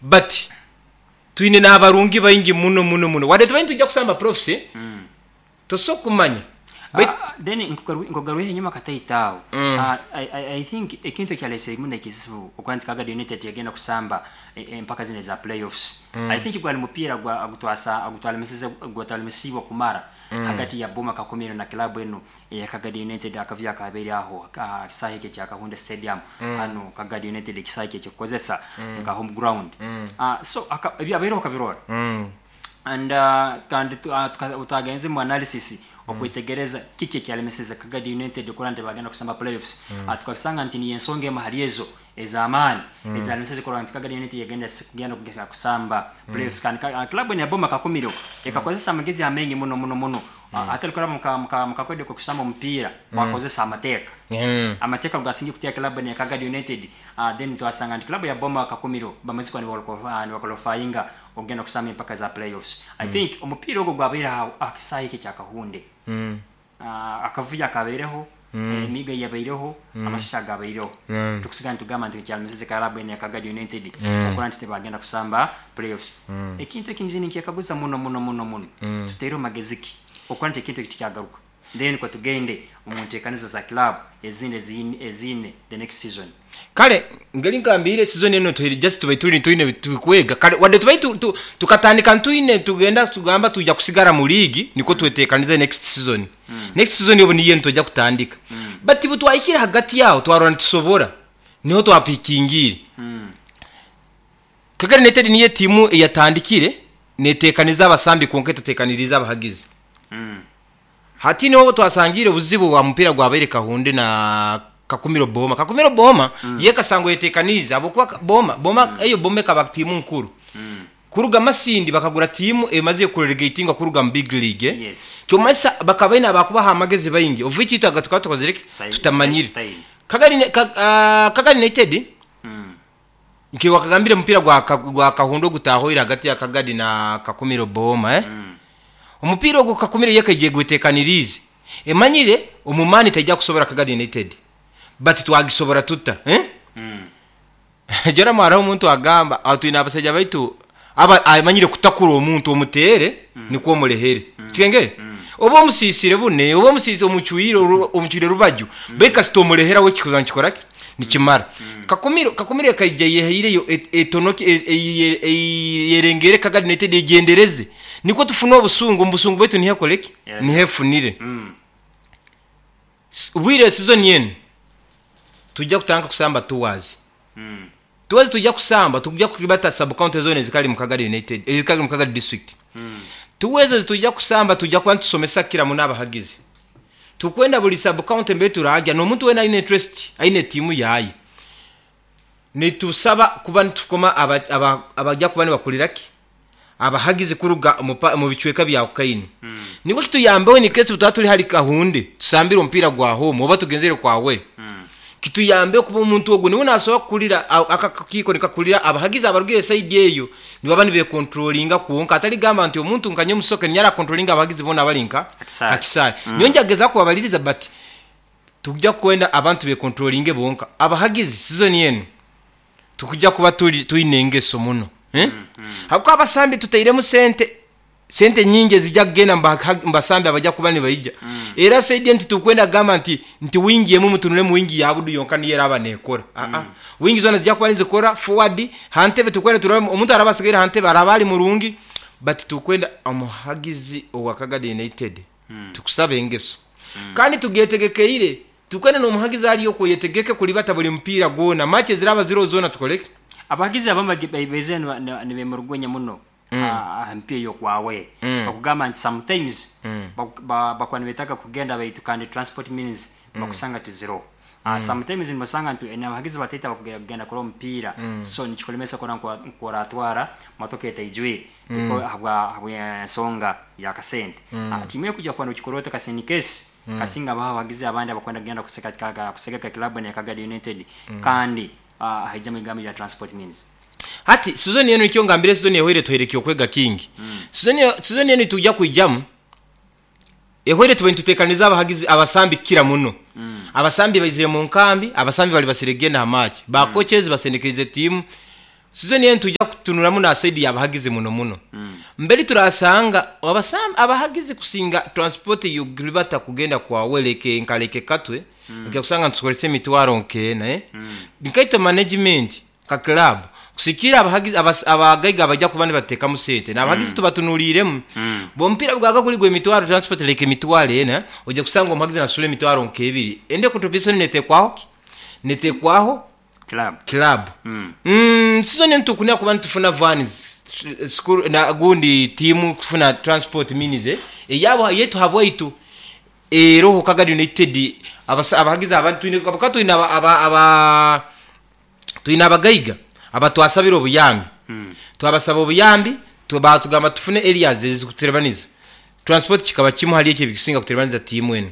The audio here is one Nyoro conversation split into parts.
But twine n'abarungi baingi muno muno muno. Wadde tubaire nitwija kusamba playoffs, tosobola kumanya. Baitu Then nkugarwireho enyuma kataito aho. I think ekintu ekyalesere muno ekizibu okuba nti Kagadi United yagenda kusamba empaka zinu eza playoffs, I think gwali mupiira ogutwalemesibwe kumara hagati ya Boma Kakumiro na club enu eya Kagadi United. Akavuyo akabaire aho aha kisaahe eki ekya Kahunde Stadium, hanu Kagadi United ekisaahe eki ekikukozesa nka home ground. So ebyabaireho okabirora and kandi twagenze mu analysis okwetegereza kiki ekyalemeseze Kagadi United kurora nti bagenda kusamba playoffs, tukasanga nti niyo ensonga emu hali ezo ez'amaani ezalemeseze kurora nti Kagadi United yagenda kugenda kugeza kusamba playoffs. Kandi club enu ya Boma Kakumiro ekakozesa amagezi amaingi muno muno muno, atali kuraba mukakodyo k'okusamba omupiira, bakozesa amateeka. Amateeka gasinga kuteeka club enu ya Kagadi United. Then twasanga nti club ya Boma Kakumiro bamaze kuba nibaqualifyinga okugenda kusamba empaka za playoffs. I think omupiira ogwo gwabaire aha kisaahe eki ekya Kahunde. Akavuyo akabaireho, emiigo eyabaireho, amasasi agabaireho, tukusigara nitugamba nti ekyalemeseze club enu ya Kagadi United okurora nti tibagenda kusamba playoffs. Ekintu eki nze ninkyekaguza muno muno muno muno, tutaireho magezi ki okurora nti ekintu eki tikyagaruka, then nikwo tugende omu nteekaniza za club ezindi eziine the next season. Kale ngeri ngambiire, season enu tuhaire just tubaire turi twine ebiturikwega. Kare wadde tubaire tukatandika ntwine nitugenda tugamba twija kusigara mu league nikwo twetekanize next season. Next season obu niyo nitwija kutandika. But obu twahikire hagati aho twarora nitusobora, niho twapikingiire. Kagera United niyo etiimu eyatandikire netekaniza abasambi kwonka etatekaniriize abahagizi. Hati niho twasangiire obuzibu bwa mupiira gwabaire Kahunde na Kakumiro Boma. Kakumiro Boma yo ekasangwa eyetekaniize ahabw'okuba Boma, Boma eyo Boma ekaba tiimu nkuru. Kuruga Masindi bakagura tiimu emazire kurelegatingwa kuruga mu big league. Kyomanyisa bakaba baine abakubaha amagezi baingi of which itwe aga tukaba tukozire ki? Tutamanyire. Kagari United nka wakagambire omupiira gwa Kahunde ogutahoire hagati ya Kagadi na Kakumiro Boma. Omupiira ogwo Kakumiro yo ekaija egwetekaniriize emanyire omu maani taija kusobora Kagadi United but twagisobora tuta? Joram hariho omuntu agamba aho twine abasaija baitu aba amanyire kutakura omuntu omuteere nikwo omurehere. Kikengere? Oba omusiisire bune, oba omusiisire omucwire omucwire rubaju, beitu kasita omurehera we kikuba nikikora ki? Nikimara. Kakumiro Kakumiro ekaija eyehaireyo etonoke eyerengeere Kagadi United egyendereze nikwo tufune obusungu, omu busungu bwaitu niho ekore ki? Niho efunire. Obwire season enu twija kutandika kusamba tours. Tours twija kusamba twija kuribata sub county zona ezikari mu Kagadi United ezikari mu Kagadi district. Tour ezo ezitwija kusamba twija kuba nitusomesa kukira muno abahagizi. Tukwenda buri sub county mbere turagya n'omuntu weena aine interest aine tiimu yaye. Nitusaba kuba nitukoma abaja kuba nibakurira ki? Abahagizi kuruga omu bicweka bya Ukaini. Nikwo kituyambeho in case twaba turi hali Kahunde tusambire omupiira gwa home oba tugenzere kwa away. Kituyambeho kuba omuntu ogwo niwe nasobora kukurira aka akakiiko nikakurira abahagizi abarugire esayidi eyo nibaba nibekontrolinga kwonka atari kugamba nti omuntu nka nyowe Musoke niinyija arakontrolinga abahagizi boona abari nka aha kisaayi. Nyowe njagezaho kubabaririza but Tikuja kwenda abantu bekontrolinge bonka. Abahagizi sizoni enu tukuja kuba tuli twine engeso muno eh? Habwokuba abasambi tutairemu sente sente nyingi ezija kugenda mu basambi abaja kuba nibaija. Era saidi enu titukwenda kugamba nti nti wingi emu mutunulemu wingi ya Budu yonka niyo eraba nekora. Aa, wingi zona zija kuba nizikora forward ha ntebe tukwenda turole omuntu araba asigaire ha ntebe araba ali murungi but tukwenda omuhagizi owa Kagadi United Tukusaba engeso. Kandi tugetegekeire. Tukwenda n'omuhagizi ali okwo oyetegeke kulibata buli mupiira gwona. Match eziraaba ziroho zoona tukole ki? Abahagizi abamu baizire nibemurugunya muno aha mipiira ey'okwawe. Bakugamba nti sometimes bakuba nibetaaga kugenda baitu kandi transport means bakusanga tiziroho. Sometimes nibasanga nti n'abahagizi bataito abakugenda kurora omupiira so nikikulemesa kurora ngu oratwara motoka etaijwire. Nikwo ahabw'ensonga y'akasente. Tiimu ekuja kuba nokikora oti kasi in case kasinga habaho abahagizi abandi abakwenda kugenda kusegeka club enu eya Kagadi United kandi haijamu ebigambo ebya transport means. Hati sizoni enu nikyo ngambire sizoni ehweire etuhaire eky'okwega kingi. Sizoni enu nitwija kwijamu ehweire tube nitutekaniza abahagizi abasambi kukira muno. Abasambi baizire mu nkambi, abasambi bali basire kugenda ha match. Ba coaches basendekerize tiimu. Sizoni enu nitwija kutunuramu na saidi y'abahagizi muno muno. Mbere turasanga abahagizi kusinga transport y'okuribata kugenda kwa Weleke nka Lake Katwe, ojya kusanga nitukozesa emitwaro nk'ena. Nkaitwe management nka club kusikiira abahagizi abagaiga abajya kuba nibateekamu sente n'abahagizi tubatunuliiremu. Omupiira bwaga guri gw'emitwaro transport leka emitwaro ena, ojya kusanga omuhagizi nasasura emitwaro nk'ebiri. Endi contribution neteekwaho ki? Neteekwaho Club. Club. Sizoni enu tukunira kuba nitufuna van school na gundi tiimu kufuna transport means eyabo eyaitu habwaitu eroho Kagadi United abahagizi abandi twine habwokuba twine aba aba twine abagaiga abatwasabire obuyambi. Twabasaba obuyambi batugamba tufune areas ezikututerebaniza. Transport kikaba kimu hali ekyo ebikusinga kuterebaniza tiimu enu.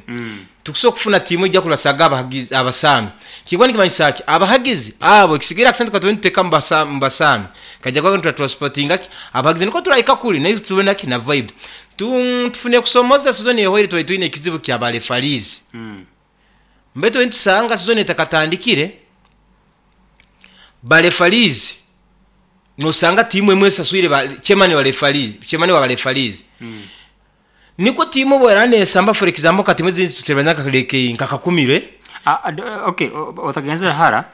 Tukusobola kufuna tiimu ejja kurasaga abahagizi abasambi. Kikuba nikimanyisa ki? Abahagizi abo ekisigaire akasente katube nituteeka omu basambi kaija kuba nituratransportinga ki? Abahagizi nikwo turahika kuri naitwe tube na ki? Na vibe. Tufune kusomoza sizoni ehoire twali twine ekizibu kya ba referees. Baitu nitusanga sizoni etakatandikire, ba referees nosanga tiimu emwe esaswire ba chairman wa referees, chairman wa ba referees. Nikwo tiimu obu eraaba neesamba for example nka tiimu ezindi tutereranye nka nka Kakumiro. Okay, otagenzere hara.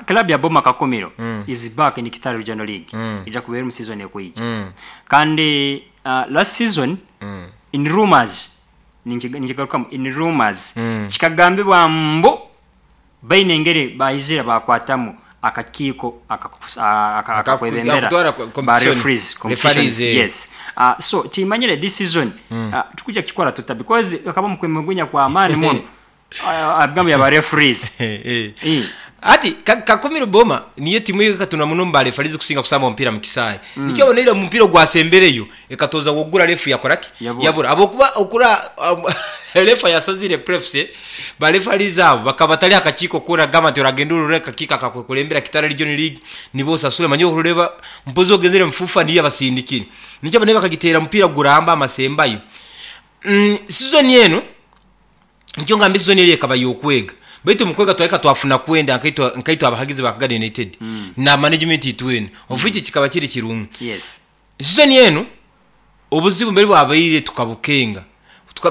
Club ya Boma Kakumiro is back in Kitara Regional League. Ija kubeera omu season ekwija. Kandi last season in rumors ninkigarukamu in rumors kikagambibwa mbu baine engeri baizire bakwatamu akakiiko akakwebembera Akakutwara ba competition. Referees competition. Referees, eh. Yes, so kimanyire this season tukuja kukikora tuta because akaba mukwemulugunya kwa amaani muno ebigambo bya ba referees. Eh. Ati Kakumiro Boma niyo timu ekatuna muno mu ba referees kusinga kusamba omupiira mu kisaayi. Nikyo oboneire omu mupiira ogwasembereyo ekatoza wogura refu yakora ki? Yabura. Yabura. Habwokuba okura refa yasazire prefs, ba referees abo bakaba batari aha kakiiko koona kugamba nti oragenda orore akakiiko akakwekurembera Kitara Region League nibo osasure manya orikureeba mpozi ogenzire omu FUFA niyo yabasindikire. Nikyo oboneire bakagiteera omupiira guramba amasembayo. Sizoni enu nikyo ngamba sizoni eri ekaba y'okwega. Baitu omu kwega twahika twafuna kwenda nkaitwe abahagizi ba Kagadi United na management itwena. Of which kikaba kiri kirungi. Sizoni enu obuzibu mbere bwabaire tukabukenga.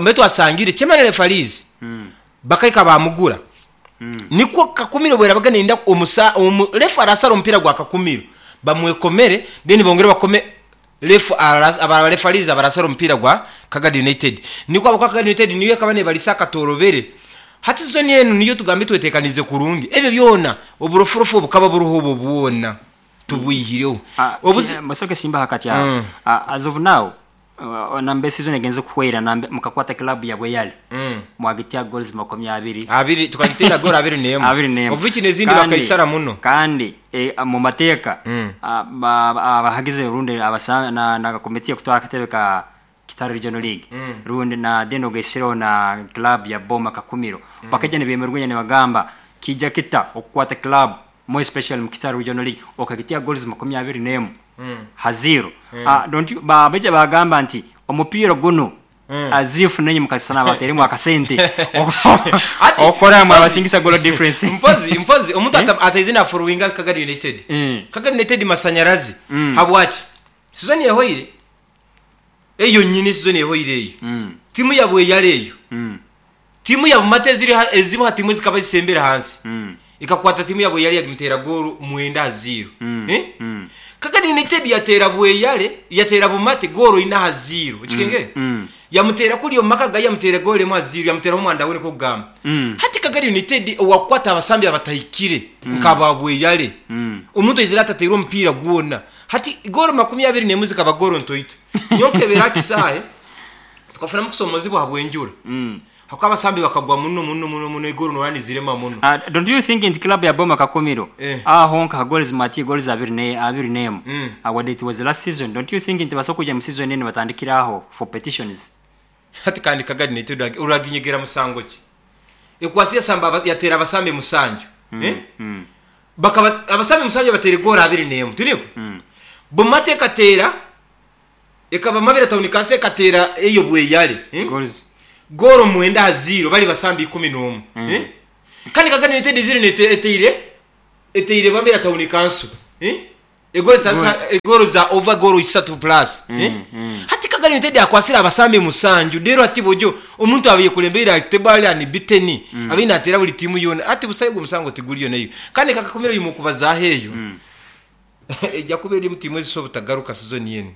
Mbere twasangire chairman referees bakahika bamugura. Nikwo Kakumiro bwerabaga neyenda refa arasara omupiira gwa Kakumiro bamwekomere then bongere bakome ref aba referees abarasara omupiira gwa Kagadi United. Nikwo ahabwokuba Kagadi United niyo ekaba nebarisa akatorobere. Hati sizoni enu niyo tugambe twetekaniize kurungi. Ebyo byona oburofurofu obukaba buruho obwo bwona tubwihireho. Musoke simba hakati aho. As of now nambe season egenze kuhwera nambe mukakwata club ya Bweyale. Mwagitia goals 20. Abiri tukagitera goal 21. 21. Of which n'ezindi bakaisara muno. Kandi mu mateeka abahagizi rundi na komiti ekutwara akatebe ka Kitara Regional League rundi na then ogaisireho na club ya Boma Kakumiro bakaija nibemerwenya nibagamba kija kita okukwata club more especially mu Kitara Regional League okagitia goals 21 ha zero. Don't you, baija bagamba nti omupiira guno as if nenye mukasana bateremu akasente Ati, okora mwe abasingisa goal difference. Mpozi omuntu ataize na followinga Kagadi United. Kagadi United masanyarazi. Habwaki? Sizoni ehoire. Eyo nyini sizoni ehoire eyo. Timu ya Bweyale eyo. Timu ya Bumate eziri ezimu ha timu zikaba zisembera hansi. Ikakwata timu ya Bweyale yagimutera goal 9-0. Kagadi United yatera Bweyale, yatera Bumate goal 4-0. Okikenge? Yamutera kuri omu maka gaye yamutera goal 1-0, yamutera omwanda we niko kugamba. Hati Kagadi United owakwata abasambi abatahikire nkaba Bweyale. Omuntu aizire atateire omupiira gwona. Hati goal 21 zikaba goal ntoito. Nyonkebera kisaahe tukafunamu kusomozibwa habw'enjura. Hakuba abasambi bakagwa muno muno muno muno igoro noranizirema muno. Don't you think nti club ya Boma Kakumiro aho nka goals mati goals 21? What it was last season, don't you think nti basobola kuja mu season eno batandikira aho for petitions? Hati kandi Kagadi United uraginyegera musango ki? Ekwasi yasamba yatera abasambi musanju. Bakaba abasambi musanju batera goal 21. Tiniko? Bumate katera ekaba mabira town kase katera eyo Bweyale. Goals. Goro 9-0 bali basambi 11. Kandi Kagadi United ziri eteire bamira town council. Egoro egoro za over goro isatu plus, eh? Hati Kagadi United akwasire abasambi musanju rero ati bojo omuntu abaye kulembeera tebali unbeaten, abaye natera buli timu yona ati busayo omusango tiguriyo nayo kandi kakakomera uyu mukubazaho eyo ejja kuba eri mu timu ezisobola obutagaruka season yenu.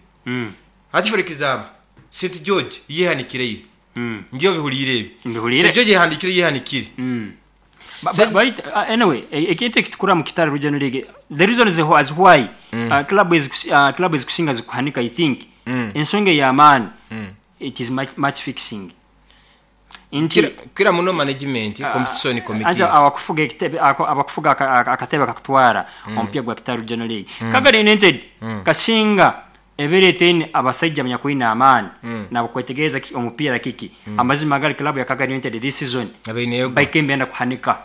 Hati for example St George yehanikire ngiyo bihulire ebi. Mbihulire. St George yehanikire yehanikire. But anyway, ekintu ekitukura mu Kitara Regional League, the reason is as why club ezikusinga zikuhanika, I think ensonga ey'amaani, it is match fixing nti Kira muno management, competition committees. Anja abakufuga ekitebe abakufuga akatebe kakutwara omupiira gwa Kitara Regional League, Kagadi United kasinga ebereeteni abasajja abanyakwine amaani nabakwetegereza omupiira kiki. Amazima gali, club ya Kagadi United this season Abaineyo baikembe enda kuhanika.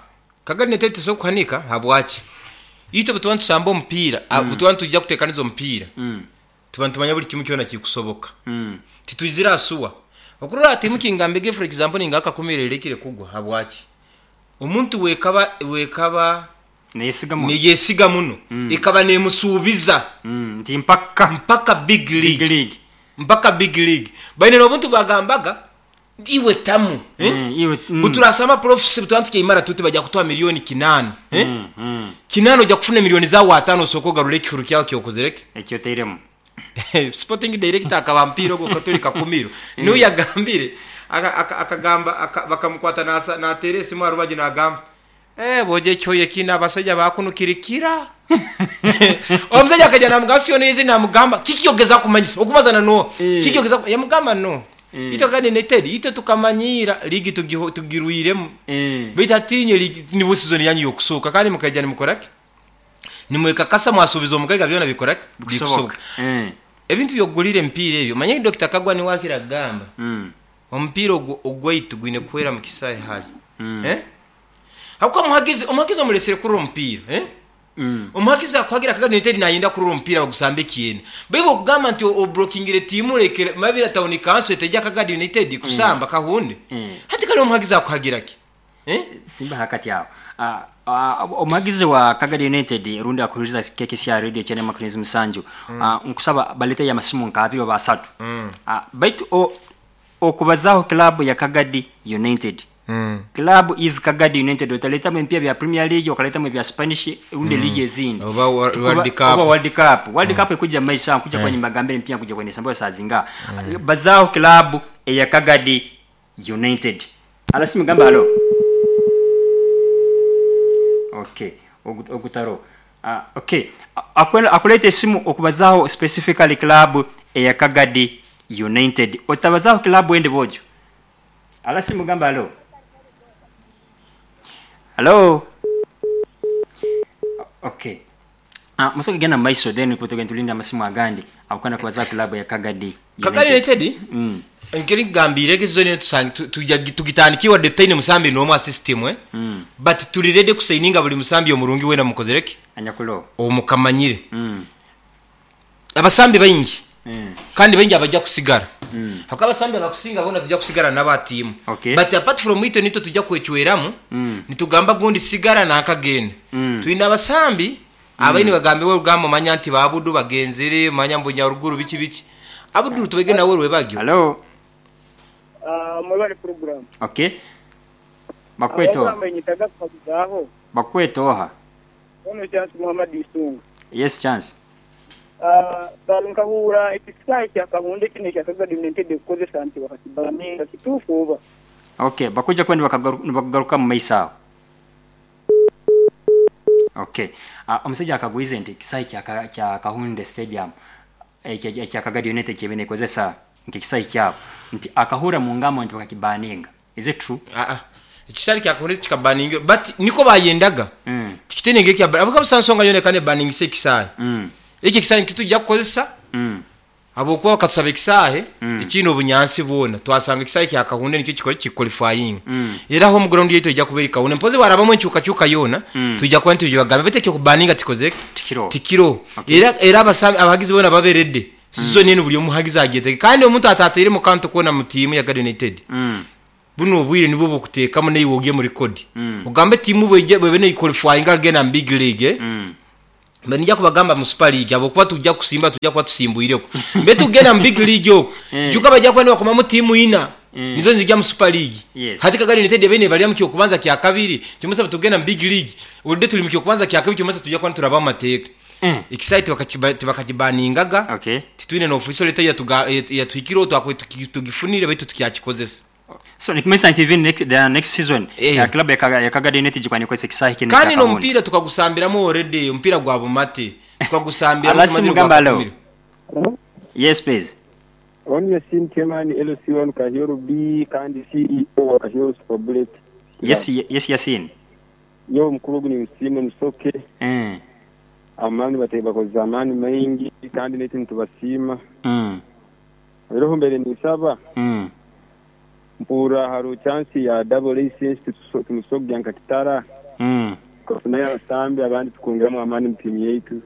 Kagadi United tesobola kuhanika. Habwaki? Itwe bwe tuba nitusamba omupiira, bwe tuba nitujja kuteekaniza omupiira, tuba nitumanya buli kimu kyona kikusoboka. Titwizire asuwa okurora timu kingambege. For example, ninga akakumira erekire kugwa. Habwaki? Omuntu wekaba neyesiga muno. Neyesiga muno, ekaba nemusuubiza. Nti mpaka mpaka big league. Big league. Mpaka big league baine n'obuntu bwagambaga iwe tamu, eh? Iwe. Buturasamba profisi butuba tukaimara tuti bajja kutuha miliyoni 8, eh? 8 ojja kufuna miliyoni zawe 5 osooka ogarura ekihuru kyawe kyokozereke. Ekyo oteiremu. Sporting director akaba mpira ogwo katuli kakumiro niwe yagambire akagamba bakamukwata natera esimu arubagi nagamba, "Eh, boje ekyoyo kina abasajja bakunukirikira." Omusajja akajja namugamba siyo nezi namugamba kiki ogeza kumanyisa okubazana no kiki ogeza yamugamba no itwe kandi United itwe tukamanyira ligi tugirwiremu baitu atinye ligi nibo season yanyu yokusoka kandi mukajja nimukoraki nimwekakasa mwasuubiza omugaiga byona bikoraki. Bikusoboka. Ebintu byokugulira emipiira ebyo manye Dr. Kagwa niwe akira agamba omupiira ogwo ogwaitu gwine kuhwera mu kisaahe hali, eh? Habwokuba omuhagizi omulesere kurora omupiira, eh? Omuhagizi akuhagira Kagadi United nayenda kurora omupiira bagusamba ekyenda baibu okugamba nti obrokingire tiimu rekere Mabira Town Council etejja Kagadi United kusamba kahunde. Hati kale omuhagizi akuhagira ki, eh? Simba hakati awo. Omuhagizi wa Kagadi United rundi akuhuriza KKCR radio 97, nkusaba balete amasimu nka abiri oba asatu. Baitu okubazaho club ya Kagadi United, club is Kagadi United, otaletamu empya bya Premier League, okaletamu ebya Spanish rundi league ezindi. Oba World Cup. Oba World Cup. World Cup ekuja maisha kuja kwa nyimba empya kuja kwenye sambayo saa zinga bazaho club eya Kagadi United. Alasimu gamba halo. Okay, ogutaro. Okay, akuleta esimu okubazaho specifically club eya Kagadi United, otabazaho club ende bojo. Alasimu gamba halo. Halo. Okay. Musoke genda mu maiso then kutugenda tulinda amasimu agandi akukana kubazaho club ya Kagadi Kagadi United nkeri nkugambire egi season tugitandikire wadde tutaine musambi n'omu system, eh? But tuli ready kusayininga buli musambi omurungi wena mukozereki anyakulo omukamanyire. Abasambi baingi kandi baingi abajja kusigara hakuba abasambi abakusinga bona tujja kusigara n'abatiimu. But apart from itwe nitwe tujja kwecweramu nitugamba gundi sigara nakagenda. Twine abasambi abaini bagambiwe orugamba omanya nti babudu bagenzere manya mbu nyaruguru biki biki abudu tubege nawe rwebagyo. Halo. Mwebale program. Okay, bakweto. Abagamba nyitaga kubazaho. Bakwetoha. Ono Chance Muhammad Isunga. Yes, Chance. Balunkahura ekisaawe kya Kahunde kino ekya Kagadi United kukozesa nti bakakibaninga kituufu oba? Okay, bakuja kwenda bakagaruka mu maiso awo. Okay, omusajja akagwize nti ekisaawe kya Kahunde Stadium ekya Kagadi United kyebene ekozesa nk'ekisaawe kyabo nti akahura mu ngamo nti bakakibaninga, is it true? Ah, ah. Ekisale kyakuhunde kikabaninga but niko bayendaga. Tikitene ngekya abuka busansonga yone kane baningise ekisaawe. Ekyo ekisaawe nikitujja kukozesa habwokuba bakatusaba ekisaahe ekiine obunyansi bwona twasanga ekisaahe kya Kahunde nikyo kikora kiqualifying era home ground yaitu ejja kuba eri Kahunde mpozi warabamu enkyukakyuka yoona tujja kuba nitugibagambe baitu ekyokubaninga tikozeke. Tikiro. Tikiro. Era abahagizi boona baberedde season enu buli omuhagizi agyetege kandi omuntu atateire mu kantu koona mu tiimu ya Kagadi United. Buno obwire nibwo bukuteekamu naiwe ogye mu record ogambe tiimu bwebe nequalifying agenda mu big league, eh? Mbe nijja kubagamba mu Super League habwokuba tujja kusimba, tujja kuba tusimbuireko. Mbe tugenda mu big league okwo, juka bajja kuba nibakomamu tiimu ina nizo nizijja mu Super League. Hati Kagadi United ebaire nebalira mu kyokubanza kyakabiri, kimanyisa tugenda mu big league already tuli mu kyokubanza kyakabiri, kimanyisa tujja kuba nituraba mu mateeka. Ekisaayi tibakakibaningaga, titwine n'official letter eyatuhikireho, twakubaire tugifunire baitu tukyakikozesa. So nikimanyisa nti even the next season club ya Kagadi United gikuba nekozesa ekisaayi kinu ekya Kandi Kahunde. n'omupiira tukagusambiramu already, omupiira gwa Bumate tukagusambiramu Alasi tumazire Mugamba, hello. gwakakumire. Hello? Yes please. Onu Yasin Chairman LC1 Kahyoro B kandi CEO wa Kahyoro Super Bullet Club. Yes, yes Yasin. Nyowe omukuru ogu ninsiima Musoke. Amaani bataire bakozesa amaani maingi kandi naitwe nitubasiima. Oihireho mbaire ninsaba mpurra hariho chance ya double license tumusobora kugya nka Kitara tukafunayo abasambi abandi tukongeramu amaani mu tiimu yaitu.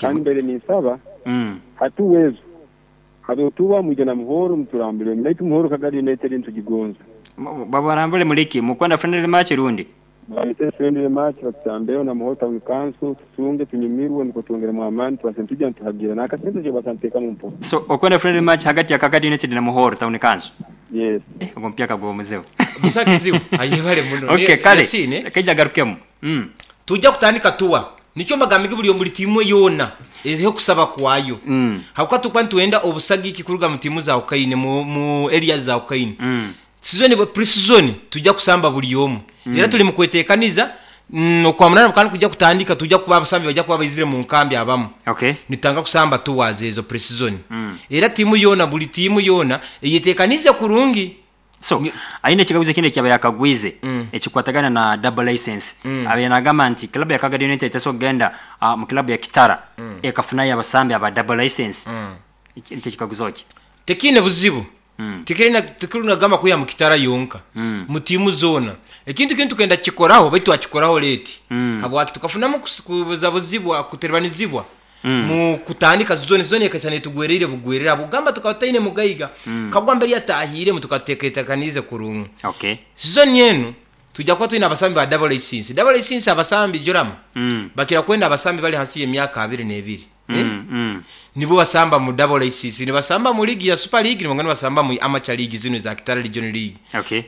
Kandi mbaire ninsaba hatuwa ezo hariho mwije na Muhoro muturambulemu naitwe Muhoro Kagadi United nitugigonza. Babarambule muliki mukwenda friendly match rundi? Balete friendly match batusambeho na Muhoro Town Council tusunge tunyumirwe nukwo twongeremu amaani tubase nitujya nituhagira n'akasente kye bakanteekamu mpora. So okwenda friendly match hagati ya Kagadi United na Muhoro Town Council? Yes. Ogwo omupiira kaguba omuzibu. Busa kizibu. Ayebare muno. Okay, kale. Yasine. Kaija agarukemu. Tujja kutandika tuwa. Nikyo mbagambire buri buri tiimu yoona ezeho kusaba kwayo. Habwokuba tukuba nitwenda obusagiki kuruga mu tiimu za Ukaine, mu area za Ukaine. Season bwe pre-season tujja kusamba buri omu. Era tuli mu kwetekaniza, okwa munana kandi kujja kutandika, tujja kuba abasambi bajja kuba baizire mu nkambi abamu. Nitutandika kusamba tours ezo pre-season. Era tiimu yoona, buri tiimu yoona eyetekanize kurungi. So, aine ekikaguzo ekindi ekyaba yakagwize ekikwatagana na double license. Abaire nagamba nti club ya Kagadi United tesobola kugenda mu club ya Kitara ekafunayo abasambi aba double license. Nikyo kikaguzo kye. Tekiine buzibu. Tikiri nagamba kwiha mu Kitara yonka. Mu tiimu zoona. Ekintu kinu tukenda kukikoraho baitu twakikoraho late. Habwaki tukafunamu kubuzabuzibwa, kutebanizibwa mu kutandika zone, zone ekaisa netugwereire bugwerere. Habwokugamba tukaba tutaine mugaiga. Kagwa mbere yatahiremu tukateekateekanize kurungi. Season enu tujja kuba twine abasambi ba double license. Double license abasambi joramu. Bakira kwenda abasambi bali hansi y'emyaka abiri n'ebiri. Nibo basamba mu double license, nibasamba mu league ya Super League, nibongana basamba mu amateur league zino za Kitara Region League.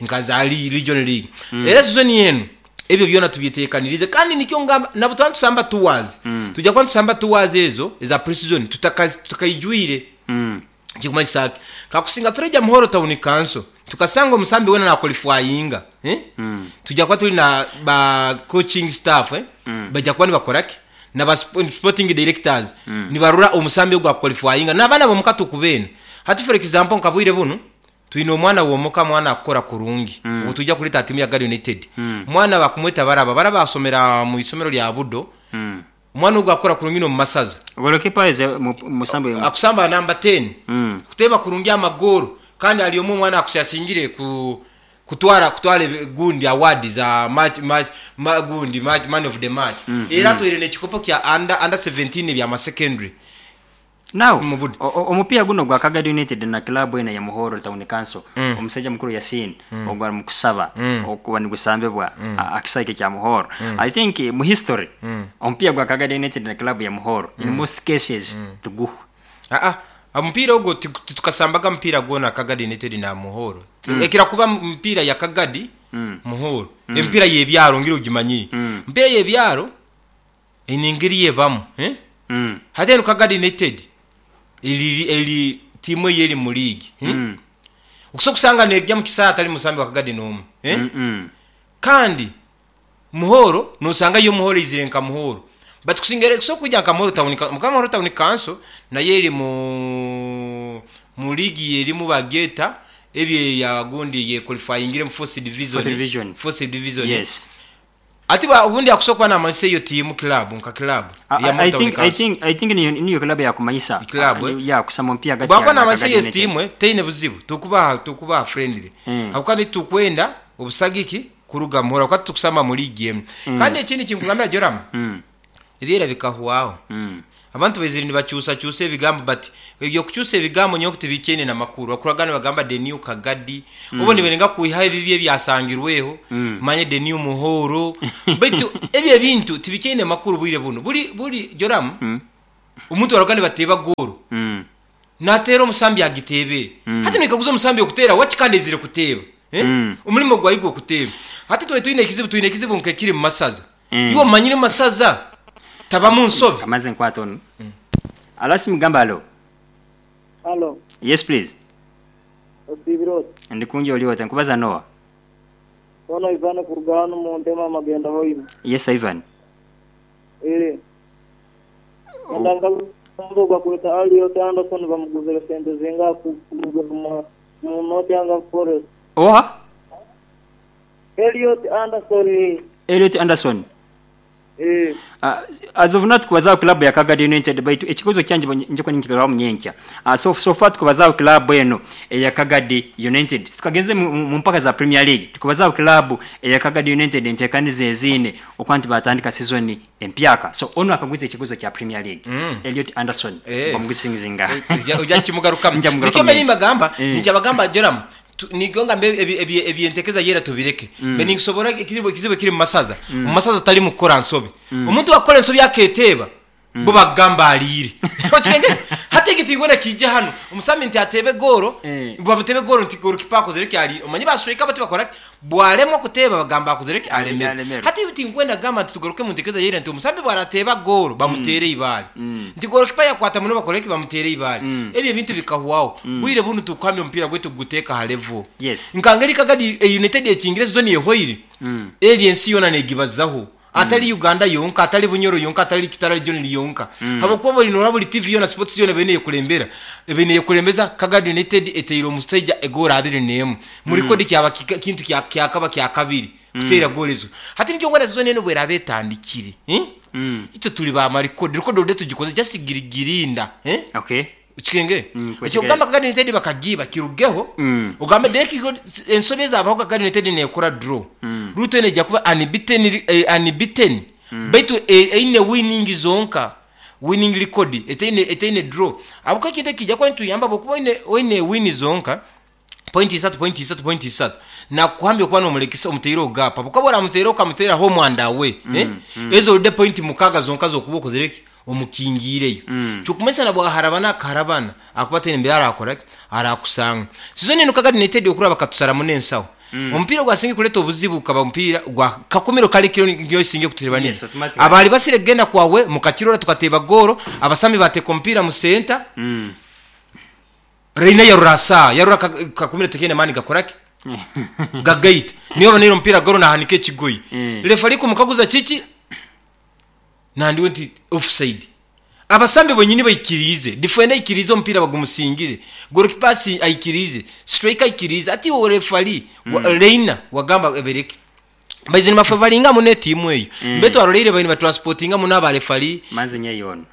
Nka za Region League. Era season enu ebyo byona tubyetekanirize kandi nikyo ngamba nabo twantusamba tours. Tujja kuba tusamba tours ezo eza pre-season tutakaijuire. Kikumanyisa ki? Kakusinga tureja Muhoro Town Council tukasanga omusambi wena na qualifyinga, Tujja kuba tuli na ba coaching staff, Bajja kuba nibakoraki na ba sporting directors. Nibarura omusambi ogwa qualifyinga n'abaana bomuka tukubena. Hati for example nkabwire buno twine omwana womuka, mwana akora kurungi. Ubu tujja kuleta timu ya Kagadi United. Mwana bakumweta baraba, baraba asomera mu isomero lya Budo. Mwana ogwo akora kurungi no mu masaza. Goalkeeper is musambi akusamba number 10. Kuteba kurungi amagoro kandi ali omwe mwana akusasingire ku kutwara gundi award za match, match, ma, gundi match, man of the match. Era twire ne kikopo kya under 17 bya ma secondary. Now, Mu Budo. Omupiira guno gwa Kagadi United na club ena ya Muhoro Town Council, omusajja mukuru Yasin, ogwa mu kusaba, okuba nigusambibwa, akisaike kya Muhoro. I think mu history, omupiira gwa Kagadi United na club ya Muhoro, in most cases, tuguhu. Omupiira ogwo tukasambaga mupiira gwona Kagadi United na Muhoro. Ekira kuba mupiira ya Kagadi, Muhoro. Emipiira y'ebyaro ngira ogimanyi. Emipiira y'ebyaro eine engeri yebamu, Hati eno Kagadi United eri tiimu eyeri mu league, Okusobola kusanga nejja mu kisaawe atali musambi wa Kagadi n'omu, Kandi Muhoro nosanga yo Muhoro izire nka Muhoro. But kusingere kusobola kujja nka Muhoro Town nka Muhoro Town Council naye eri mu league erimu bageta ebye ya gundi ye qualifying mu fourth division. Fourth division. Fourth division. Yes. Ati ba ubundi akusobola kuba n'amanyisa eyo tiimu club nka club. Ya Muhoro Town Council. I think niyo club yakumanyisa. Club, eh? Ya kusama mpya hagati Bwakuba ya n'amanyisa Kagadi eyo United. tiimu, teine buzibu. Tukubaha friendly. Habwokuba nitukwenda obusagiki kuruga Muhoro kuba tukusamba mu league emu. Kandi ekindi kinkugambira Joram. Ebyera bikahwaho. Abantu baizire nibakyusakyusa ebigambo, but ebyokukyusa ebigambo nyowe tibikyaine namakuru. Bakuraga nibagamba the new Kagadi, obo nibalenga kwihaho ebibi ebyasangirweho, manya the new Muhoro, baitu ebyo ebintu tibikyaine makuru bwire bunu. Buri buri Joram, omuntu baraga nibateeba goolo, nateera omusambi agiteebere. Hati noikaguza omusambi okuteera waki kandi aizire kuteeba? Omurimo gwayo gw'okuteeba. Hati twali twine ekizibu, twine ekizibu nk'ekiri mu masaza. Iwe omanyire masaza tabamu nsobi. Kamaze nkwata onu. Alo simu gamba alo. Alo. Yes please. Osiibire ota? Ndi kungi oli ota? Nkubaza noha? Ono Ivan kuruga hanu muntema Amagenda Hoima. Yes Ivan. Ee. Enda nkaguze ogu bakweta Elliot Anderson bamuguzire sente zingaha kuruga mu Nottingham Forest? Oha? Elliot Anderson. Elliot Anderson. Eeh. As of now tukubazaaho club ya Kagadi United baitu ekikaguzo kyangye nja kuba ninkigarukamu nyenkya. So so far tukubazaaho club eno eya Kagadi United. Titukagenze mu mpaka za Premier League. Tukubazaaho club eya Kagadi United enteekaniza eziine okuba nti baatandika season empyaka. So onu akaguza ekikaguzo kya Premier League. Elliot Anderson bamuguza zingaha? Oja kimugarukamu. Nja Nikyo mugarukamu mbe nyenkya. nimbagamba, nikyabagamba Joram, nikyo ngambe eby'entekereza y'era tubireke. Mbe ninkusoborra ekizibu ekiri mu masaza. Omu masaza talimu kukora nsobi. Omuntu bwakukora ensobi aketeeba, bo bakugamba aliire. Okitegeera? Hati eki tinkwenda kiije hanu. Omusambi nti ateebe goolo, bamuteebe goolo nti golikipa akozire ki aliire. Omanyire ba striker bo tibakora ki? Bwalemwa kuteeba bagamba akozire ki? Alemerwe. Hati tinkwenda kugamba nti tugaruke omu ntekereza y'eira nti omusambi bwarateeba goolo bamuteere eibaare. Nti golikipa yakwata muno bakore ki? Bamuteere eibaare. Ebyo ebintu bikahwaho. Bwire bunu tukuhamya omupiira gwaitu kuguteeka ha level. Nka ngeri Kagadi United ekingire sizoni ehwaire, eri ensi yoona negibazaho. Atari Uganda yonka, atari Bunyoro yonka, atari Kitara region yonka. Habwokuba buri norora buri TV yoona, sports yoona ebaire neyekurembera, ebaire neyekurembeza Kagadi United eteire omusaija egoolo abiri n'emu. Mu record kyaba kintu kyakaba kyakabiri kuteera goolo ezo. Hati nikyo nkwenda season enu bweraba etandikire, itwe turi ba ma record, record already tugikoze just girinda. Okikengere? Eky'okugamba Kagadi United bakagiiba kirugeho, ogambe Derek ensobi ezabaho Kagadi United nekora draw. Ruto enu eija kuba unbeaten, unbeaten baitu eine winning zonka, winning record etaine etaine draw. Ahabw'okuba ekintu eki kiija kuba nikituyamba ahabw'okuba oine oine win zonka, point isatu, point isatu, point isatu, nakukuhambya okuba nomurekesa omuteireho gap ahabw'okuba obu oramuteera okamuteera home and away, ezo already point mukaaga zonka z'okuba okozire ki? Omukingiireyo. Kyokumanyisa na bwaharabana akaharabana ahakuba taine mbere arakora ki? Arakusanga. Sizoni enu Kagadi United okuraba bakatusaramu n'ensaho. Omupiira ogwasinga kureta obuzibu gukaba omupiira gwa Kakumiro kare kiro niyo esinga kututebanisa. Yes, automatically. Abaali basire kugenda kwawe mukakirora tukateeba goolo, abasambi bateeka omupiira mu senta. Reina yarora asaa, yarora Kakumiro tekaine maani gakora ki? Gagaita. Niyo oboneire omupiira goolo nahanika ekigoyi. Refari kumukaguza kiki? Nandiwe nti offside. Abasambi bonyini baikiriize, difenda aikiriize omupiira bagumusingire, golikipa aikiriize, striker aikiriize, hati iwe refari Reina wagamba ebaire ki? Baizire nibafevaringa muno etiimu eyo. Mbe twaroleire babaire nibatransportinga muno aba refari. Manze nyeyo onu.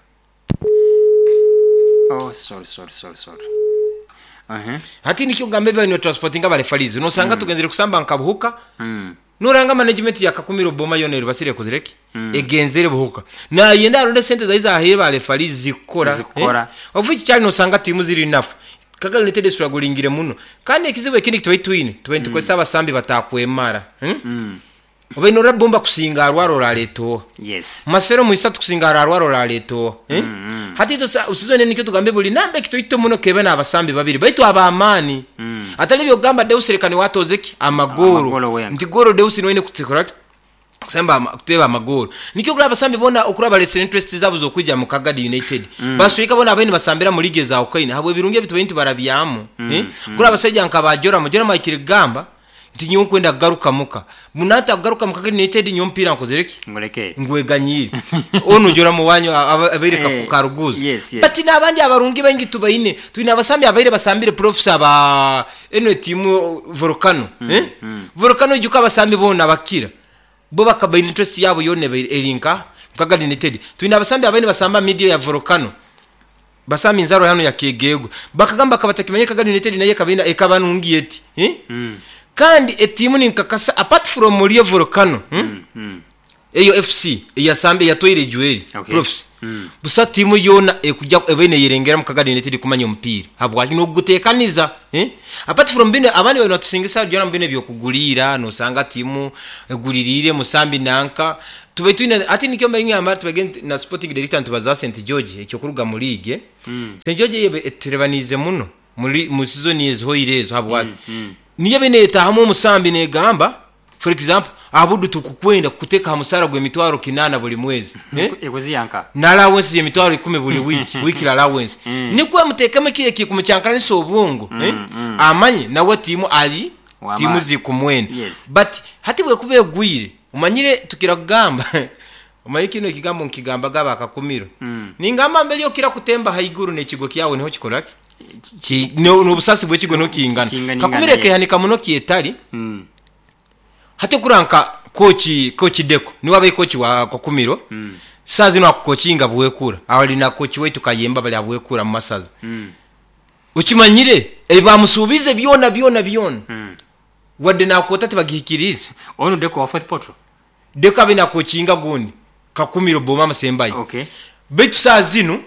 Oh sorry sorry sorry sorry. Hati nikyo kugamba ebi babaire nibatransportinga aba refaris. Nosanga tugenzire kusamba nka Buhuka. Noranga management ya Kakumiro Boma yoona erubasire ekozire ki? Egenzere Buhuka. Nayenda aronde sente zari zahaire ba referees zikukora. Zikukora. Of which kyari nosanga tiimu ziri nafu. Kagalo United estruggling muno. Kandi ekizibu ekindi ekitubaire twine, tubaire nitukozesa abasambi batakwemara. Obaire norora Bomba kusinga arwara orareta oha? Yes. Marcelo Mwisatu kusinga ararwara orareta oha? Hati itwe season enu nikyo tugambe buri namba ekitoito muno kebe n'abasambi babiri baitu ab'amaani. Atari eby'okugamba Deus reka niwe atooze ki? Amagoolo. Amagoolo wenka. Nti goolo Deus niwe aine kutukora ki? Kusemba kuteeba amagoolo. Nikyo okuraba abasambi boona okuraba baresire interest zaabo z'okwija mu Kagadi United. Ba striker boona ababaire nibasambira mu league eza Ukaine ahabw'ebirungi ebi tubaire nitubarabyamu. Okuraba abasaija nka ba Joram, Joram ahikire kugamba Nti nyowe nkwenda kugaruka muka. Munanta kugaruka muka Kagadi United nyowe omupiira nkozire ki? Ngureke. Ngweganyiire. Onu Joram owanyu abaire Karuguza. Yes, yes. But n'abandi abarungi baingi tubaine. Twine abasambi abaire basambire profs aba enu etiimu Volcano. Volcano ijuka abasambi boona bakira. Bo bakaba baine interest yaabo yoona ebaire eri nka Kagadi United. Twine abasambi abaire nibasamba midio ya Volcano. Basamba enzarwa hanu ya Kyegegwa. Bakagamba bakaba batakimanyire Kagadi United nayo ekaba eine ekaba nungi eti. Kandi etiimu ninkakasa apart from Rio Volcano. Eyo FC eyasambi eyatwaire ejweri Okay. Profs. Busa tiimu yoona ekujja ebe neyerengeramu Kagadi United kumanya omupiira habwaki nogutekaniza, eh? Apart from bino abandi bali nibatusingisa byona bino ebyokuguliira nosanga tiimu eguliriire musambi nanka tube twine hati nikyo mbaire ningamba tubage na sporting director nitubaza St George ekyokuruga mu league, eh? St George eyo etuterabaniize muno muri mu season ezihoire ezo habwaki niyo ebe neyetahamu omusambi negamba. For example, Abudu tukukwenda kukuteka ha musara gw'emitwaro 8 buli mwezi, eh? Ekuziyanka. Na allowance y'emitwaro 10 buli week, weekly allowance. Nikwo mutekemu ekiro ekikumucyankaranisa obwongo, eh? Amanye nawe tiimu ali W'amaani. tiimu zikumwenda. Yes. But hati bwekuba egwire, omanyire tukira kugamba omanyire kinu ekigambo nkigambaga abakakumiro. Ningamba mbere okira kutemba haiguru n'ekigo kyawe niho kikora ki? Ki n'obusasi bw'ekigo niho kingana. Kingana Kakumiro ingana, ekehanika muno kyetali. Hati okuranka coach Deko niwe abaye coach wa Kakumiro. Saa zino akukocinga Bwekura. Ali na coach waitu Kayemba bali Abwekura mu masaza. Okimanyire ebamusuubize byona byona byona. Wadde nakwota tibagihikirize. Ono Deko wa Fourth Portal. Deko abe nakocinga gundi Kakumiro Boma Musembayi. Okay. Baitu saa zino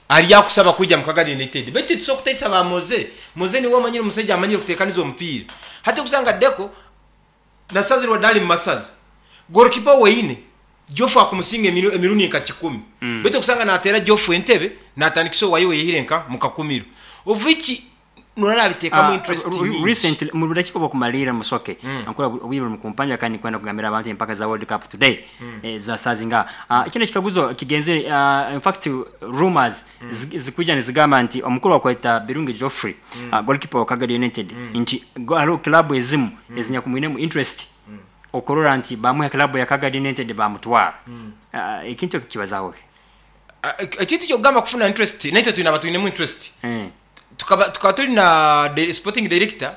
ali akusaba kwija mu Kagadi United. Baitu tusobola kutaisa ba Moze. Moze niwe omanyire omusajja amanyire kutekaniza omupiira. Hati okusanga Deko na saa zino wadde ali mu masaza. Goalkeeper weine Jofu akumusinga emirundi nka 10. Baitu okusanga natera Jofu entebe natandikisa owayo yehire nka mu Kakumiro. Ovichi nora abitekamu interest nyingi. Recently mu budakika bw'okumalirira musoke. Ankora obwire mu kumpanya kandi kwenda kugambira abantu empaka za World Cup today. Za sazinga. Kino kikaguzo kigenze, in fact rumors zikuja nizigamba nti omukuru wa kweta Birungi Geoffrey, goalkeeper wa Kagadi United, nti hariho club ezimu ezinyakumwinemu interest. Okurora nti bamuha club ya Kagadi United bamutwara. Ekintu ekyo kibazaho ki? Ekintu kyokugamba kufuna interest, naitwe twine abatwinemu interest. Tukaba tuli na sporting director.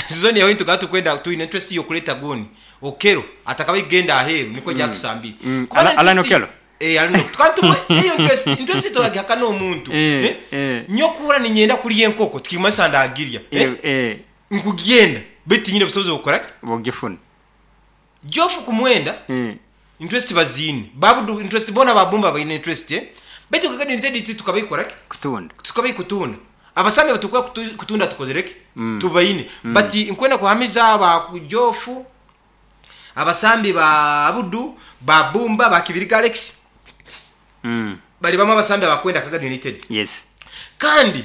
Season yawe tukaba tukwenda twine interest yo kuleta goni. Okero atakaba igenda aheru niko jatusambira. Kuba na Alan interest Okelo. Alan Okelo. Tukaba tumwe eyo interest togihaka n'omuntu. Nyokura ni nyenda kuri enkoko tukimasa ndagirya. Nkugenda beti nyine busobozi bukora ki? Bugifuna. Jofu kumwenda. Interest bazini. Babu interest bona babumba bayine interest. Beti Kagadi United tukabikora ki? Kutunda. Tukabikutunda. Abasambi batukwa kutunda tukozereke. Tubayine. But nkwenda kuhamiza aba Jofu, abasambi ba Abudu, ba Bumba, ba Kibirika Alex. Bali bamwe abasambi abakwenda Kagadi United. Yes. Kandi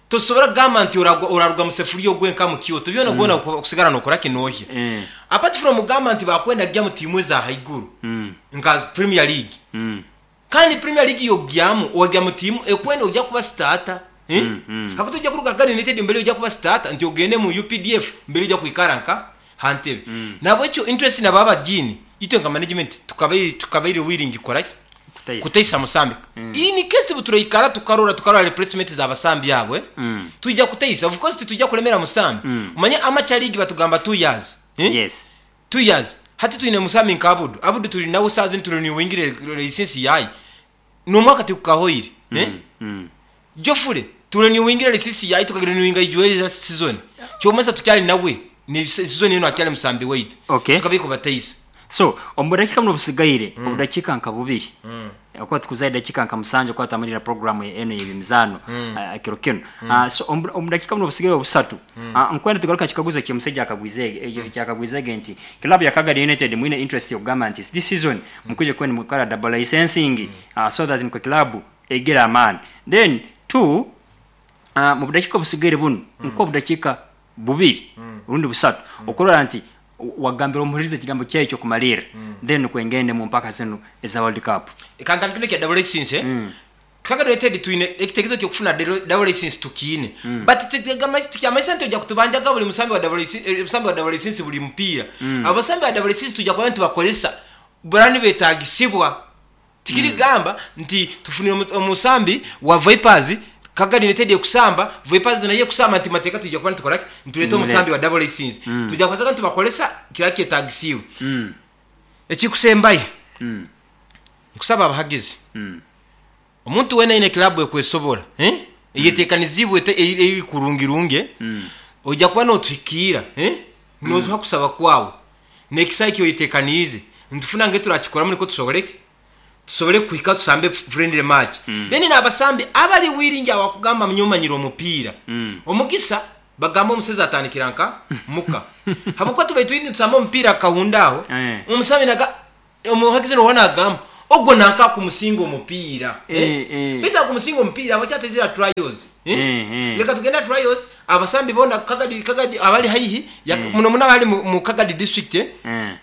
tosobora kugamba nti oraruga mu sefuriya ogwenka mu Kyoto byona gona kusigara nokora kinohya. Apart from kugamba nti bakwenda kujya mu timu za haiguru. Nka Premier League. Kandi Premier League yogyamu ojya mu timu ekwenda ojya kuba starter. Hakuto ojya kuruga Kagadi United mbere ojya kuba starter nti ogende mu UPDF mbere ojya kwikara nka hantebe. Nabo icyo interest na baba jini itwe nka management tukabaire willing ikora Kutaisa. Kutaisa musambi. Iyi ni kesi buturayikara tukarora replacement za basambi yabwe. Tujya kutaisa. Of course tujya kulemera musambi. Umanye amacha league batugamba 2 years. Yes. 2 years. Hati tuine musambi nka Abudu. Abudu tuli nawe sazi tuli ni wingire license yayi. No mwaka tukahoire. Jofure tuli ni wingire license yayi tukagira ni winga ijueli za season. Chomasa tukyali nawe ni season yeno akyali musambi wait. Okay. Tukabiko bataisa. So, omudakika muno busigaire, omudakika nka bubiri. Okuba tukuzaye dakika nka musanju kwa tamalira programu eno y'emizano, kiro kino. So, omudakika muno busigaire obusatu. Nkwenda tugaruka kikaguzo ky'omusajja akagwizege nti club ya Kagadi United mwine interest y'okugamba nti this season mukuje kwenda mukala double licensing, so that nko club egera amaani. Then two, mu budakika obusigaire buno, nko budakika bubiri, rundi busatu. Okurora nti wagambira omuhurize ekigambo kyayo ekyokumalira. Then kwengende mu mpaka zino eza World Cup. Kantandikire kya double license, Kagadi United twine ekitegezo kyokufuna double license tukiine. But tikyamaisa nti ojja kutubanjaga buli musambi wa double license, musambi wa double license buli mupiira. Abasambi ba double license tujja kuba nitubakozesa burani betagisibwa. Tikiri gamba nti tufunire omusambi wa Vipers Kagadi United ekusamba, Vipers naye ekusamba nti mateeka tujja kuba nitukola ki? Nituleeta omusambi wa double license. Tujja kukozesa nitubakolesa kira kyetagisiwe. Ekikusembayo. Nkusaba abahagizi. Omuntu wena ine club ekwesobola, Eyetekanizibwe eri kurungirunge. Ojja kuba notuhikiira, Notuha kusaba kwawe. Nekisai kyo yetekanize. Nitufuna nge turakikoramu niko tusoboleke tusobole kuhika tusambe friendly match. Then n'abasambi abali willing awakugamba munyomanyira omupiira. Omugisa bagamba omuseza atandikira nka muka habwokuba tubaire twine tusamba omupiira Kahunda aho. Omusambi naga omuhagizi nowa nagamba ogwo nanka kumusinga omupiira. Baitu akumusinga omupiira abakyatezera trials. Leka tugenda trials abasambi bona Kagadi abali haihi muno muno abali mu Kagadi district.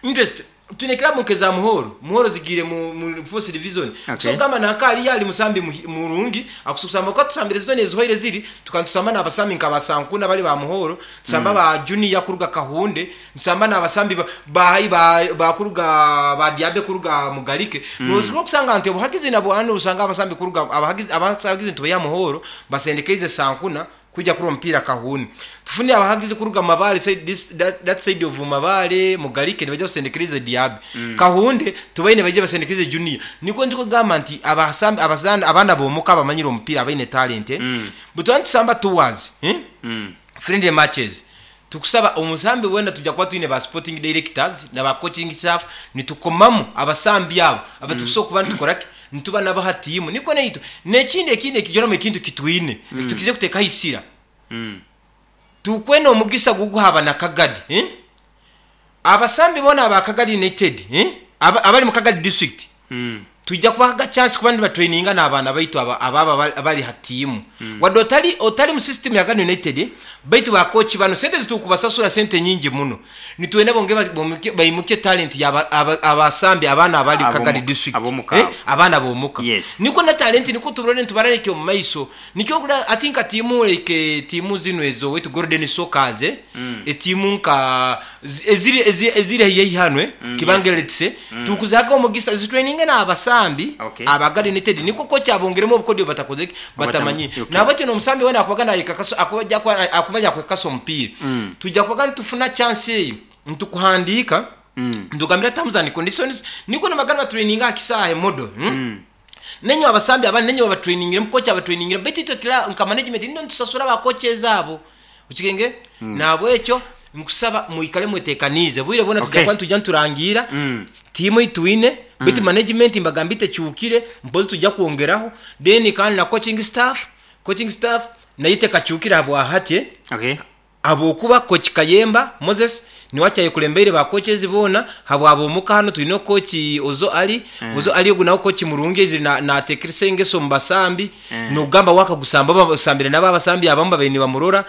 Interest twine club nkeza Muhoro zigire mu fourth division. So gamba nanka ali yali musambi murungi akususamba ko tusambire zitone ezihoire ziri tukantusamba n'abasambi nka basankuna bali ba Muhoro, tusamba ba junior kuruga Kahunde, tusamba n'abasambi ba kuruga ba Diabe kuruga Mugalike. Noziko kusanga nti obuhagizi nabo hano usanga abasambi kuruga abahagizi ntuye ya Muhoro basendekeze Sankuna kuja kuri omupiira Kahunde. Tufuni abahagizi kuruga Mabale side this that side of Mabale Mugalike nibaje basendekeze Diabe. Kahunde tubaine baje basendekeze junior. Niko ndiko gamba nti abasambi abazana abana bomuka abamanyira omupiira abaine talent. Butwantu tusamba towards friendly matches. Tukusaba omusambi wenda tujja kuba twine ba sporting directors na ba coaching staff nitukomamu abasambi abo abatukusobola kuba nitukoraki nituba nabaha tiimu niko neitu nekindi ekindi ekijora ekintu kitwine tukize kuteka isira. Tukwena omugisa guguhaba na Kagadi. Abasambi bona aba Kagadi United abali mu Kagadi district. Tujja kubaga chance kuba ndi batraininga n'abaana baitu ababa abali hatimu. Wadde otali mu system ya Kagadi United baitu ba coach bano sente zitukubasasura sente nyingi muno. Nitwene bonge bayimuke talent ya abasambi abaana abali Kagadi district. Abaana bomuka. Niko na talent niko tubrone tubarane kyo maiso. Nikyo kula I think timu like timu zino ezo wetu Golden Sockers etimu nka eziri heyi hanwe kibangeletse tukuzaga omugisa zitraininga na abasambi Abagadi United niko coach abongeremo obukodyo batakozeki batamanyi. Nabakyo nomusambi wena akubagana yekakaso akubajja akumanya kwekaso omupiira. Tujja kubagana tufuna chance eyo ntukuhandika ndugambira terms and conditions niko namagana traininga akisahe modo. Nenyo abasambi abandi nenyo abatrainingire coach abatrainingire beti kila nka management ndo ntusasura ba coaches abo ukigenge nabwekyo nkusaba muikale mwetekanize bwire bona tujya kwa tujya nturangira timu itwine beti management mbagambite cyukire mpozi tujya kuongeraho then kandi na coaching staff nayite kacyukira abo ahate. Abo kuba coach Kayemba Moses niwacyaye kulembere ba coaches bona habo abo muka hano tulino coach Ozo Ali. Ozo Ali ogu nawo coach murungi eziri na tekrise ngeso mbasambi. Nogamba waka gusamba basambire nabo abasambi abamba bene bamurora.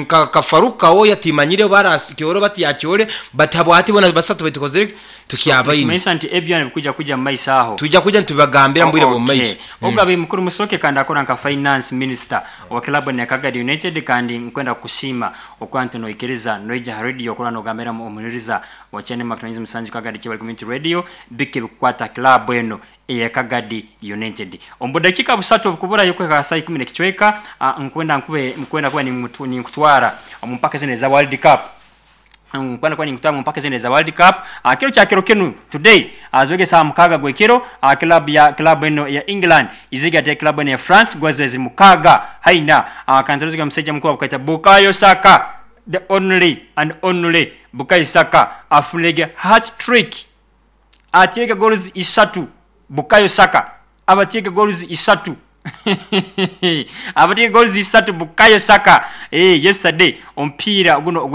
Kafaruka wo yatimanyire bara kioro bati yacyore batabo ati bona basatu bitukoze tukiabayini. Mesa nti ebyo kuja kuja maisa aho tujja kuja ntubagambira mbwire bo maisa. Ogabe mukuru musoke kandi akora nka finance minister wa club ya Kagadi United kandi nkwenda kusima okwantu noikiriza noija radio kora nogambira omuniriza wa channel Macronism Musanju Kagadi Chibali Community Radio bike bikwata club eno eya Kagadi United. Ombudakika busatu kubura yuko ka saa 10 kichweka nkwenda nkube nkwenda kwa ni nkutwara omumpaka zine za World Cup. Nkwenda kwa ni nkutwara mpaka zine za World Cup. Kiro cha kiro kinu today azwege saa mukaga gwekiro club eno ya England iziga te club eno ya France gwazwe mukaga haina kantaruziga mseja mkuu akaita Bukayo Saka the only and only Bukayo Saka afulege hat trick atieke goals isatu. Bukayo Saka abatieke goals isatu abatieke goals isatu Bukayo Saka yesterday ompira guno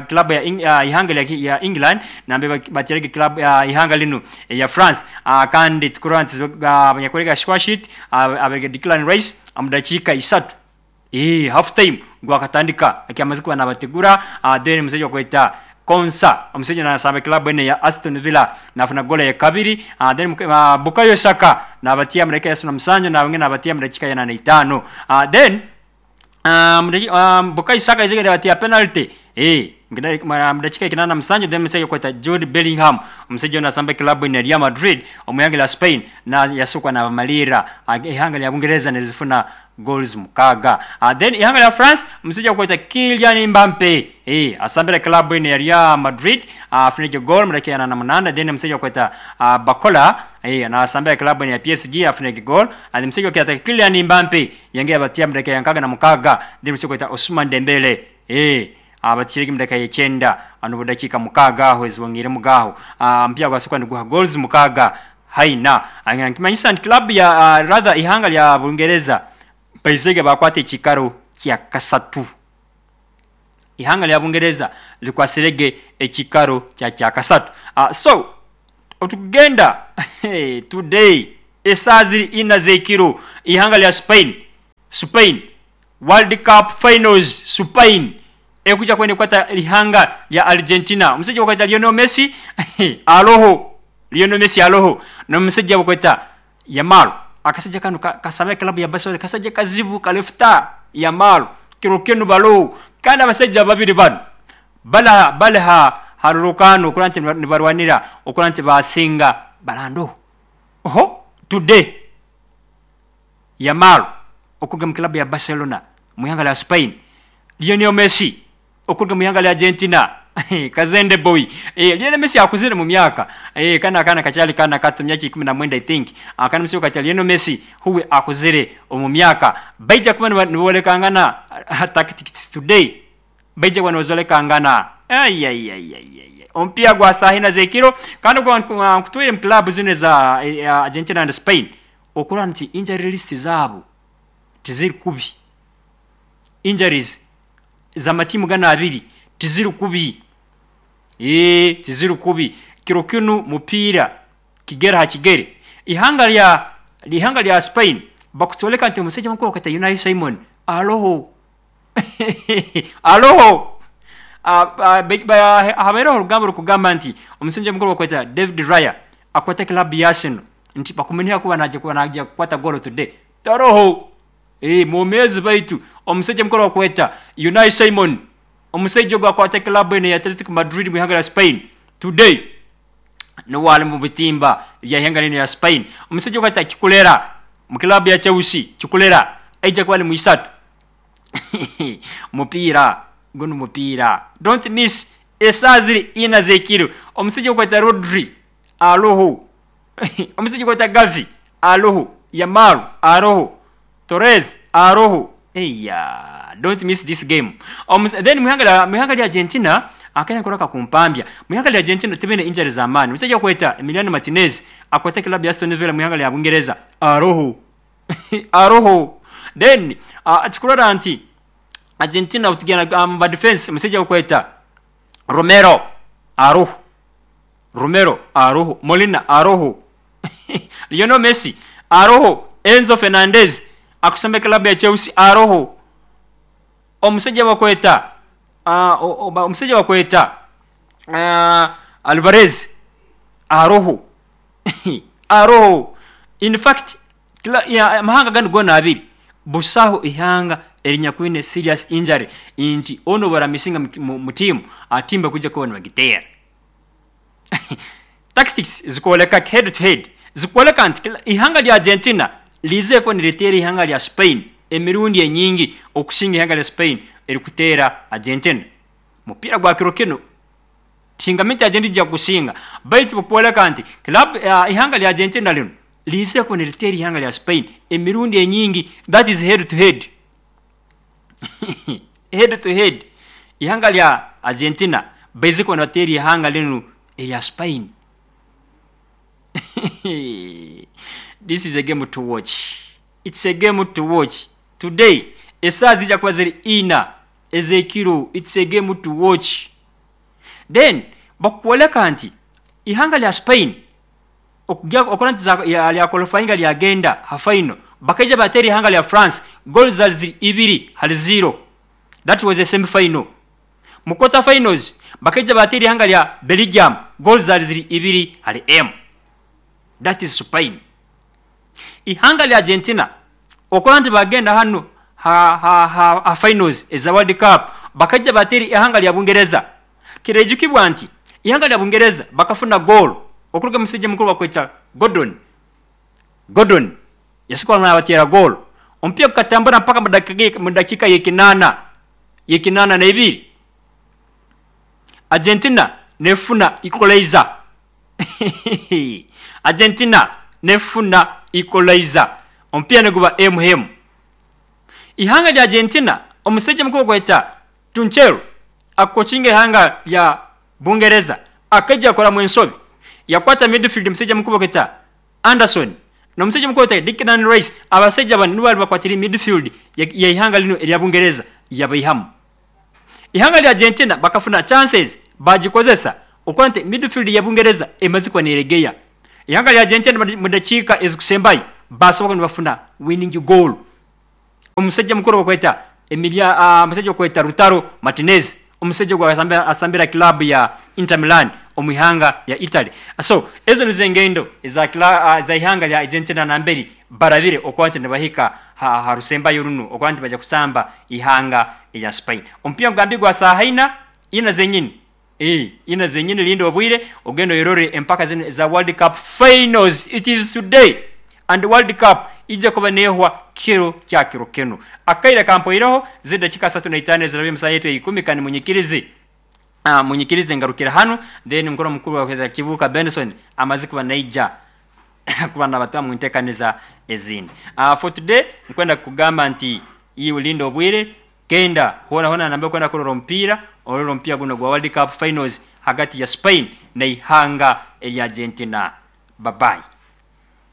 club ya ihanga ya England nambe batirege club ihanga lino ya France kandi tukuranti abanyakorega squash it abege Declan Rice amudakika isatu half time gwakatandika akiamaze kuba nabategura then musejo kweta Konsa omusajja nasamba club ene ya Aston Villa nafuna gola ya kabiri then Bukayo Saka nabatia mudakika ya 75 na wengine nabatia mudakika ya 85 then Bukayo Saka izigenda batia penalty mudakika 87 then musajja kweta Jude Bellingham omusajja nasamba club ene ya Real Madrid omuyanga la Spain na yasukwa na bamalira ihanga lya Bungereza nezifuna goals mukaga. Then ihanga la France msija kweta Kylian Mbappe asambira club ene ya Real Madrid afunike goal mudakika ya 88 then msija kweta Bakola na asambira club ene ya PSG afunike goal and msija kweta Kylian Mbappe yange abatia mudakika ya 6 then msija kweta Ousmane Dembele Batikirege mu dakika y'icyenda n'ubudakika mukaaga aho ezibongeremu gaho. Omupiira gwasooka niguha goals 6 haina. Nkimanyisa nti club ya rather ihanga lya Bungereza baizege bakwata ekikaro kya kasatu. Ihanga lya Bungereza likwasirege ekikaro kya kasatu. So otukugenda today esaaha ziri ina z'ekiro, ihanga lya Spain World Cup Finals, Spain ekuja kwenda kukwata ihanga lya Argentina. Omusajja bakweta Lionel Messi aloho, Lionel Messi aloho n'omusajja bakweta Yamal. Akasajja kano kasaba club ya Barcelona, kasajja kazibu kalefta Yamal kiro kinu baloho. Kandi abasajja babiri bano balaha harurukano okura nti nibarwanira okura nti basinga barando. Oho today Yamal okuruga mu club ya Barcelona mu ihanga lya Spain, Lionel Messi okuruga mu ihanga lya Argentina Kazende boy. Lionel Messi akuzire mu myaka, kana kana kakyali kana kato myaka 19 I think. Akana musiko kakyali Lionel Messi huwe akuzire mu myaka. Baija kuba nibolekangana tactics today, baija kuba nibolekangana. Ay ay ay ay ay. Ompia gwa sahina zekiro kandi gwa nkutwire mu club zino za Argentina and Spain okura nti injury list zabo tiziri kubi. Injuries za matimu gana abiri tiziri kubi. Tiziri kubi. Kiro kinu mupira kigera ha kigere. Ihanga lya Spain bakutoleka nti omusajja mukuru akata Unai Simon aloho. Aloho. Habereho orugambo rukugamba nti omusajja mukuru bakweta David Raya akwata club ya Arsenal nti bakumenya kuba naje kuba naje kukwata goal today. Taroho. Mumezi baitu omusajja mukuru bakweta Unai Simon omusajja gwa akwata club ya Atletico Madrid mu ihanga lya Spain today no wali mu bitimba ya ihanga ya Spain. Omusajja gwa Kikulera mu club ya Chelsea, Kikulera aija kuba ni muisatu. Mupira gono mupira, don't miss esaziri ina zekiro. Omusajja gwa Rodri aloho. Omusajja gwa Gavi aloho, Yamal aloho, Torres aloho. Eya, don't miss this game. Then muhanga lya Argentina akanya koraka kumpambya. Muhanga lya Argentina tebene injuries za amani. Omusajja kweta Emiliano Martinez akwata club ya Aston Villa muhanga lya Bungereza aloho. Aloho. Then achikurora nti Argentina utugena ba defense omusajja kweta Romero aroho, Romero aroho, Molina aroho, Lionel Messi aroho, Enzo Fernandez akusamba club ya Chelsea aroho. Omusajja bakweta omusajja bakweta Alvarez aroho. Aroho. In fact mahanga gano gona abiri busaho ihanga erinyakwine serious injury inti ono baramisinga mu team atimba kuja kubona bagitera. Tactics zikoleka head to head zikoleka nti ihanga lya Argentina lize ko niretera ihanga lya Spain emirundi enyingi okusinga ihanga lya Spain erikutera Argentina. Mupira gwa kiro kino tingamenti Argentina ja kusinga baitu popoleka nti club ihanga lya Argentina lino lize ko niretera ihanga lya Spain emirundi enyingi, that is head to head. Head to head ihanga lya Argentina baize ko niretera ihanga lino lya Spain. This is a game to watch. It's a game to watch. Today, esaa zija kuba ziri ina ezekiro. It's a game to watch. Then bakuoleka nti ihanga lya Spain okujja nti lya qualifying lya agenda ha final bakaija bateri ihanga lya France goals zali 2-0. That was a semi final. Mu quarter finals bakaija bateri ihanga lya Belgium goals zali 2-M. That is Spain. Ihanga lya Argentina okola nti bagenda hano ha finals eza World Cup bakaija bateri ihanga lya Bungereza. Kirejukibwa nti ihanga lya Bungereza bakafuna goal okuruga musajja mukuru bakweta Gordon. Gordon yasikola na batera goal. Ompia kukatambura mpaka mu dakika yekinana na ibiri. Argentina nefuna equalizer. Argentina nefuna equalizer. Ompia neguba MM. Ihanga lya Argentina omusajja mukuru bakweta Tunchero Akocinga ihanga lya Bungereza akaija akoramu ensobi, yakwata midfield omusajja mukuru bakweta Anderson n'omusajja mukuru bakweta Declan Rice. Abasaija banu nibo bali bakwatire midfield y'ihanga linu erya Bungereza, yabaihamu. Ihanga lya Argentina bakafuna chances bagikozesa okuba nti midfield ya Bungereza emaze kuba neregeya. Ihanga lya Argentina mu dakiika ezikusembayo basoboka nibafuna winning goal. Omusajja mukuru bakweta Emilia, omusajja bakweta Lautaro Martinez, omusajja ogu asambira club ya Inter Milan omu ihanga lya Italy. So ezo nizo engendo eza za ihanga lya Argentina namberi barabire okuba nti nibahika ha rusembayo runu okuba nti baija kusamba ihanga erya Spain. Omupiira nkugambire gwa saaha ina, ina zenyini. Ina zenyini, linda obwire ogende oyerore empaka zinu eza World Cup finals. It is today and World Cup ija kuba nehwa kiro kya kiro kinu. Akaire kampoireho ziri dakika 35 ezirabire omu saaha yaitu eya 10. Kandi munyikirize munyikirize ngarukire hanu, then mukuru mukuru wa Kibuuka Benson amaze kuba naija kuba nabatwara mu ntekaniza ezindi. For today nkwenda kugamba nti iwe linda obwire, genda hoona hoona nambere okwenda kurora omupiira, orole omupiira guno gwa World Cup finals hagati ya Spain n'eihanga erya Argentina. Bye bye.